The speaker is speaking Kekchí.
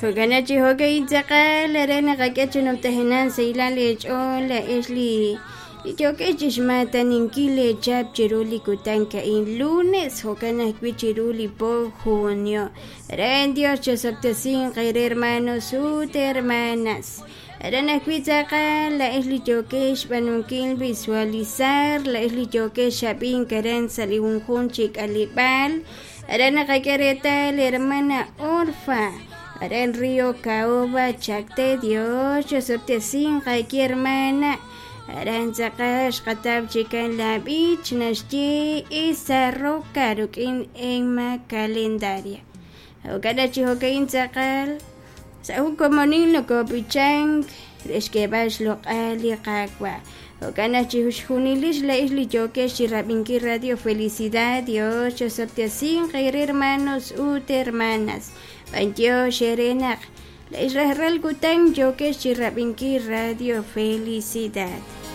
Jo'kan chi jo'ka'in tz'aqal re naqak'e chi numtajenaq sahilal leech'ool laa'ex li yookex chi xmaataninkil leechap chiru li kutan ka'in lunes jo'kan ajwi' chiru li po junio. Ren Dios chosob'tesinq eere hermanos ut hermanas. Aran ajwi' tz'aqal laa'ex li yookex xb'aanunkil visualizar, laa'ex li yookex xab'ink aran sa' li junjunq chi k'aleb'aal. Aran naqak'e reetal hermana Orfa, aran Río Caoba, Chacté, Dios chosob'tesinq aawe hermana. Aran tz'aqal xqataw chikan la b'ich naxye Esa Roca rik'in Emma Calendaria. Jo'kan chi jo'ka'in tz'aqal sa' jun komonil nokob'ichank re xk'eeb'al xloq'al li Qaawa'. Jo'kan naq chi xjunilix laa'ex li yookex chi rab'inkil Radio Felicidad, Dios chosob'tesinq eere hermanos ut hermanas. B'antiox eere naq laa'ex rajlal kutan yookex chi rab'inkil Radio Felicidad.